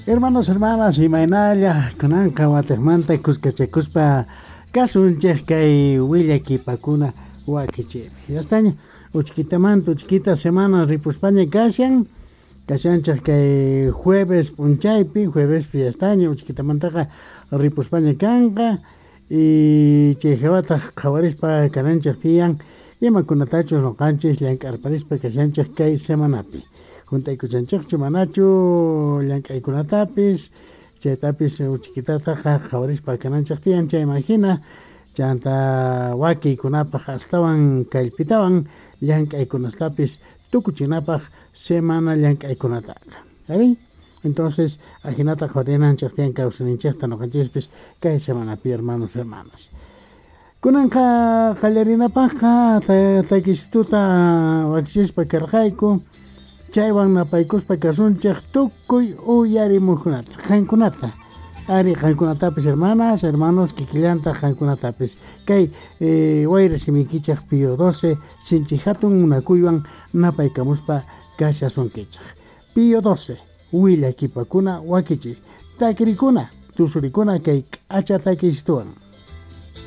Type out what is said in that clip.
Hermanos, hermanas, imaynalla kunanqa watejmanta kuskachakuspa kasunchej kay willakipakuna wakichiypi. Yastaña uchkitamanta uchkita semana ripuspaña kashan, kashanchej kay jueves p'unchaypi, juevespi yastaña uchkitamantaqa ripuspaña kanqa y chay jawataq qhawarispa kananchej tiyan imakunatachus noqanchis llank'arparispa kashanchej kay semanapi. Junt'aykuchanchejchu manachu llank'aykunatapis, chaytapis uchkitataqa qhawarispa kananchej tiyan chayman jina, chanta wakiykunapaj astawan kallpitawan llank'aykunastapis tukuchinapaj semana llank'aykunataqa. Arí? Entonces, ajinata qhawarinanchej tiyan kawsayninchejta noqanchispis kay semanapi, hermanos, hermanas. Kunanqa qallarinapajqa takisituta wakichispa karqayku, chaywan napaykuspa kasunchej tukuy uyarimujkunata, qankunata. Ari, qankunatapis, hermanas, hermanos, kikillantaq qankunatapis. Kay wayra simiykichej Pío 12 sinchi hatun munakuywan napaykamuspa kashasunkichej. Pío 12, willakipakuna wakichiy, takirikuna, tusurikuna kay k'acha takisituwan.